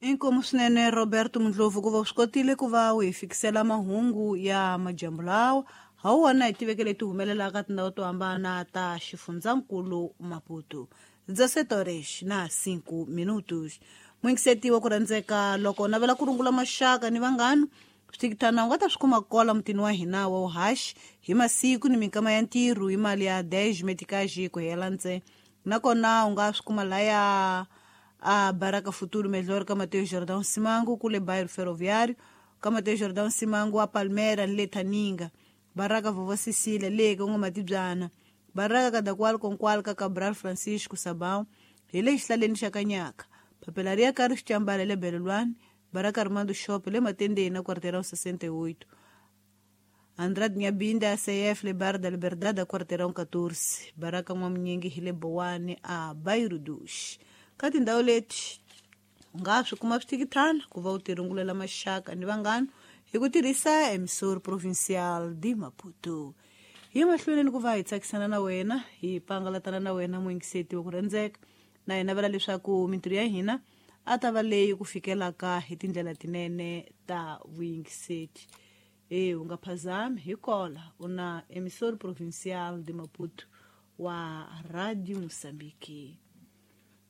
Inkomu swinene Roberto Mundlovu ku va u swi kotile ku va u hi fikisela mahungu ya madyambu lawa ha wona hi tiveke leti humelelaka tindhawu to hambana ta xifundzankulu Maputo. 17 horas na 5 minutos. Muyingiseti wa ku rhandzeka loko u navela ku rungula maxaka ni vanghana swithikithana u nga ta swi kuma kola mutini wa hina wa uhaxi hi masiku ni minkama ya ntirho hi mali ya 10 meticage ku hela ntse nakona u nga swi kuma laya a Baraka Futuro Melhor ka Mateo Jordão Simango kule bairro Ferroviário ka Mateo Jordão Simango a Palmera ni le Thaninga Baraka Vovó Cecília le ka N'wamatibyana Baraka Kadakwal Konkwal ka Cabral Francisco Sabão hi le xihlaleni xa Kanyaka Papelaria Carlos Chambala le Belelwani Baraka Armando Shop le Matendeni na Quarteirão 68 Andrade Nyabinda CF le Bar da Liberdade a Quarteirão 14 Baraka N'wamunyingi hi le Bowani a Bairro dos ka tindhawu leti u nga swi kuma swithikithana ku va u tirungulela maxaka ni vanghana hi ku tirhisa emissor provincial de Maputo hi mahlweni ni ku va hi tsakisana na wena hi pangalatana na wena muyingiseti wa ku rhandzeka na hi navela leswaku mintirho ya hina a ta va leyi ku fikelaka hi tindlela tinene ta vuyingiseti e u nga phazami hi kola u na emissor provincial de Maputo wa Radio Mozambique.